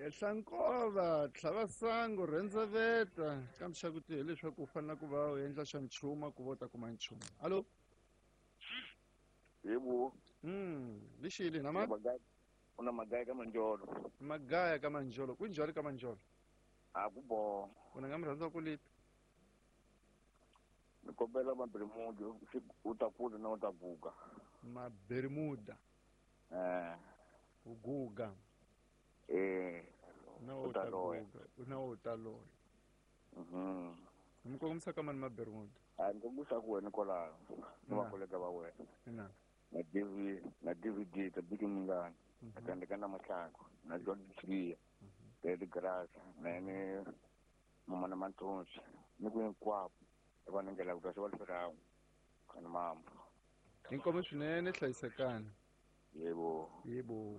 Ehla nkova tlhava sangu rhendzeveta kambe xa ku tihi leswaku u fanele ku va u endla xa nchumu ku va u ta kuma nchumu. Hallo. Yebo. Lixili na ma? Una magaya ka Manjolo. Magaya ka Manjolo. Ku njhani ka Manjolo? A ku bo. Una nga mi rhandza ku lita. Ni kombela Maberimuda u ta kula na u ta guga. Maberimuda. U guga. Na u ta guga. Na u ta loya. Mi kongomisa ka mani Maberimuda? A ni kongomisa ku wena kwalaho. Ni va kolega va wena. Ina. Na DV, na DVD ta Biki Mingana. Na Tandeka na Mahlangu, na John Sibiya. Teddy Grass, na ni Mama na Mantonsi. Ni ku hinkwavo. Va ningela ku ta swi va kana mama. Inkomo swinene hlayisekani. Yebo. Yebo.